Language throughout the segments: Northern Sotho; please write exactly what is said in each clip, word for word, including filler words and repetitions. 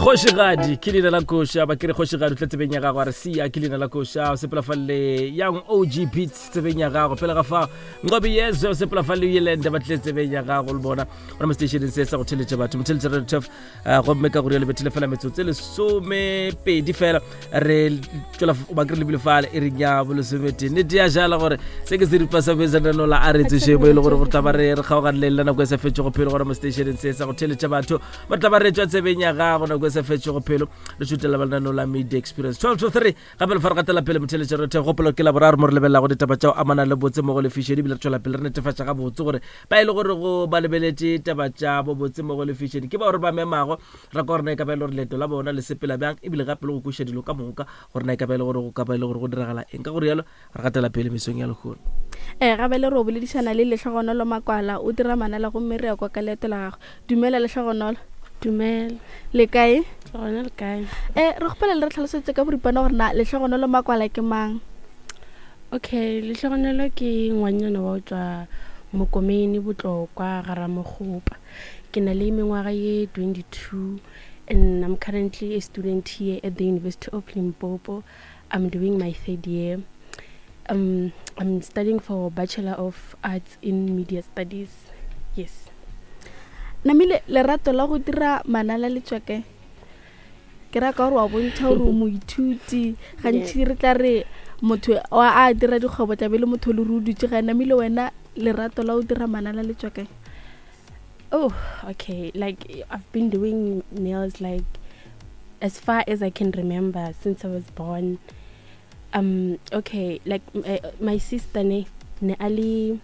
Kgošigadi ke leina la koša, ba kere kgošigadi o tle tsebeng ya gago, a re sia ke leina la koša, o sepela fa le Young O G Beats tsebeng ya gago. Pele ga fa Nqobi Yezwe o sepela fa le Yelende, ba tle tsebeng ya gago le bona gona mo stationeng se sa go theletša batho, motheletša Radio Turf. Gomme ka gore le bethile fela metsotso e lesomepedi fela re tswela ba kere lebile fale e reng ya bolesometee. Nnete ya jala gore se ke seripa sa besananola a re tsoše mo e le gore gore tla ba re re kgaogane le nako e sa fetšego phelo gona mo stationeng se sa go theletša batho, ba tla ba re tswa tsebeng ya gago nako e sa fetšego phelo, re šutela ba lenaneo la Media Experience twelve to three. Gape le fa re gatela pele, motheletša re gopolo ke Laboraro mo re lebelelago ditaba tša go amana le botse mo go lefišedi, ebile re tšwela pele re netefatša ga botse gore ba e le gore go ba lebeletše taba tša bo botse mo go lefišedi ke ba gore ba memago ra ka gore na e ka ba e le gore leeto la bona le sepela bjang, ebile gape le go kweša dilo ka moka gore na e ka ba e le gore go ka ba e le gore go diragala eng. Ka gore yalo re gatela pele mesong ya lehono. Ee, gabe le re o boledišana le Lehlogonolo Makwala, o dira manala, gomme re ya kwa ka leeto la gagwe. Dumela, Lehlogonolo. Dumela. Le kae? Gona, le kae? um re kgopela le re tlhalosetse ka boripana gore na Lehlogonolo Makwala ke mang. Okay, Lehlogonolo ke ngwanyana wa go tswa Mokomene, Botlokwa, Garamogopa. Ke na le mengwaga ye twenty-two and I'm currently a student here at the University of Limpopo. I'm doing my third year. um, I'm studying for Bachelor of Arts in Media Studies, yes. Namile lerato la go dira manala le tswa kae? Ke ra ka gore wa bontšha gore o moithuti. Gantši re tla re motho wa a dira dikgwebo tlabe le motho le re o dutse gae. Namile wena lerato la go dira manala le tswa kae? Oh, okay. Like, I've been doing nails like as far as I can remember, since I was born. Um, okay, like m- uh, my sister ne ne ali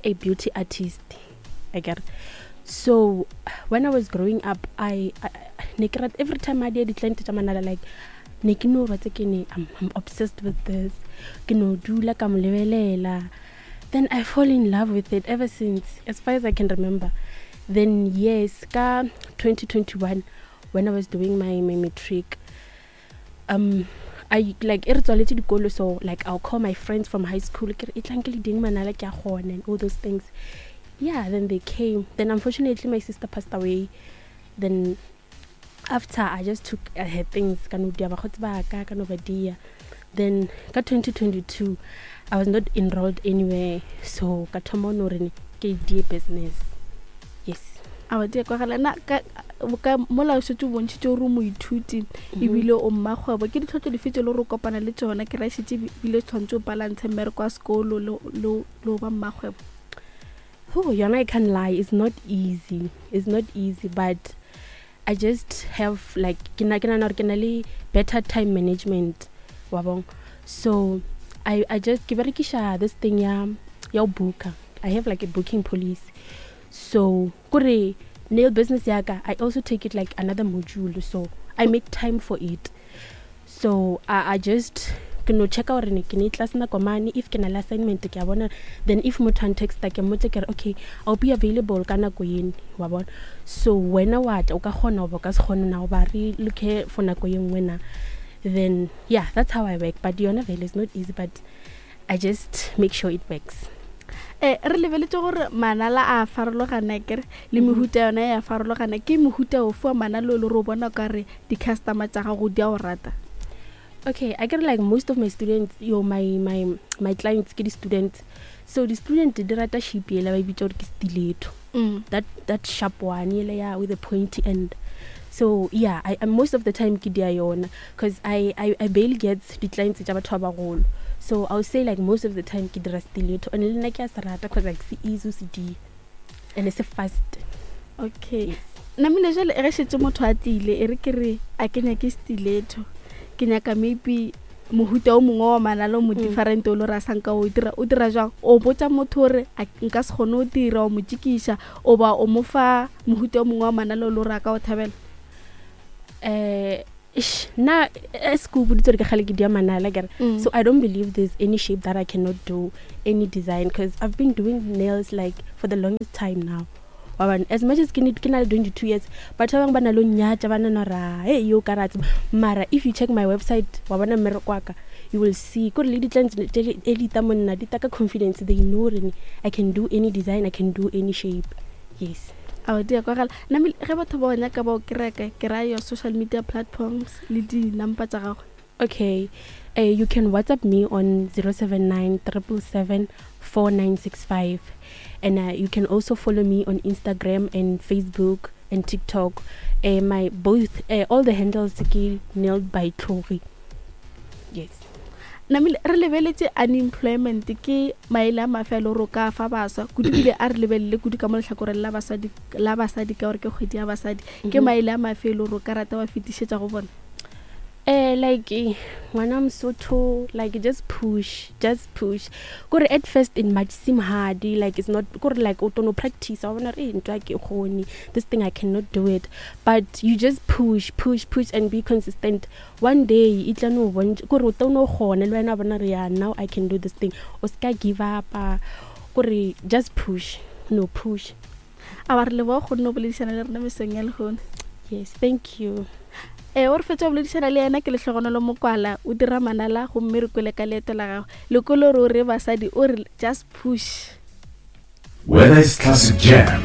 a beauty artist. I get it. So when I was growing up, I, I ne ke rata- every time I did client tša manala, like ne ke no ba tse ke ne I'm, I'm obsessed with this. Ke no dula ka mo lebelela. Then I fall in love with it ever since, as far as I can remember. Then yes, ka twenty twenty-one when I was doing my, my matric, um I like e re tswaletse dikolo, so like I'll call my friends from high school, ke re e tlang ke le ding manala ke a kgona and all those things. Yeah, then they came. Then unfortunately my sister passed away. Then after I just took uh, her things, ka no dia bakgotsi ba ka ka no ba dia. Then ka twenty twenty-two I was not enrolled anywhere, so ka thoma no re ke die business, yes. A ba dia kwagala na ka ka mola o šetše o bontšhitše gore o moithuti ebile o mmakgwebo, ke ditlhotlo dife tse le gore o kopana le tsona? Ke ra šetše ebile tshwanetse o balance mmereko wa sekolo le le le go ba mmakgwebo. Oh, yona, I can't lie, it's not easy. It's not easy, but I just have like ke na ke nahana hore ke na le better time management wa bong. So I I just ke berekisha this thing ya ya ho booker. I have like a booking policy. So kore nail business ya ka, I also take it like another module, so I make time for it. So I, I just ke no checka gore ne ke ne class nako mane, if ke na le assignment ke a bona. Then if motho a ntexta, ke mmotse ke re, "Okay, I'll be available ka nako ene," wa bona. So wena wa tla o ka kgona goba o ka se kgone na, goba re look for nako ye nngwe na. Then yeah, that's how I work. But yona vele is not easy, but I just make sure it works. um re lebeletse gore manala a farologana, kere le mehuta yona ya farologana. Ke mehuta ofe wa manala o le gore o bona ka re di-customer tša gago di a o rata? Okay, I get like most of my students, yo, my my my clients ke di-students. So the student di rata shape yela ba e bitsa gore ke stiletto. Mm. that that sharp one yela ya with the pointy end. So yeah, I, I most of the time ke dia yona because I, I I barely get di-clients tša batho ba bagolo. So I would say like most of the time ke dira stiletto, and le nna ke a se rata because like se easy o se dia and it's fast. Okay. Yes. Namile jale ge šetse motho a tlile, e re ke re a ke nyake stiletto, ke nyaka maybe mohuta o mongwe wa manala o mo Mm. different o le gore a sanka o dira, o dira jang? O botsa motho gore a nka se kgone go dira, o mo tšikiša, o ba o mo fa mohuta o mongwe wa manala o le gore a ka o thabela? uh ish, nna as ke o boditse gore ke kgale ke dia manala kere. Mm. So I don't believe there's any shape that I cannot do, any design, because I've been doing nails like for the longest time now. Wa bona, as much as ke ne ke na le twenty-two years, batho ba bangwe ba na le ho nnyatša, ba nana ra hey yo ka ra tseba. Mara if you check my website, wa bona mmereko wa ka, you will see kore le di-clients tse e di ta monna di ta ka confidence. They know gore I can do any design, I can do any shape, yes. Ao, di a kwagala. Namile, ge batho ba o nyaka ba o kereke, ke raya your social media platforms le di-number tša gago. Okay, uh, you can WhatsApp me on zero seven nine triple seven four nine six five, and uh, you can also follow me on Instagram and Facebook and TikTok. Uh, my both, uh, all the handles ke Nailed by Tlhori. Yes. Namile, re lebeletše unemployment ke maele a mafe a le gore o ka fa baswa kudu, bile a re lebelele kudu ka mo lehlakoreng la basadi, la basadi ka gore ke kgwedi ya basadi. Ke Mhm. maele a mafe e le gore o ka rata wa fetišetša go bona? Eh, like, eh, ngwana Mosotho, like, just push, just push. Kore at first it might seem hard, like it's not, kore like o tono practice, wa bona re ntwa ke kgone, this thing I cannot do it. But you just push, push, push and be consistent. One day e tla no bontša, kore o tono kgona le wena wa bona re, yeah, now I can do this thing. O ska give up, ah, kore just push, no push. A ba re leboga go nna o boledišana le rena mesong ya lehono. Yes, thank you. Eh, o re fetša go boledišana le yena ke Lehlogonolo Mokwala, o dira manala gomme re kwele ka leeto la gagwe. Le kwele gore o re basadi, o re just push. Whether it's classic jam,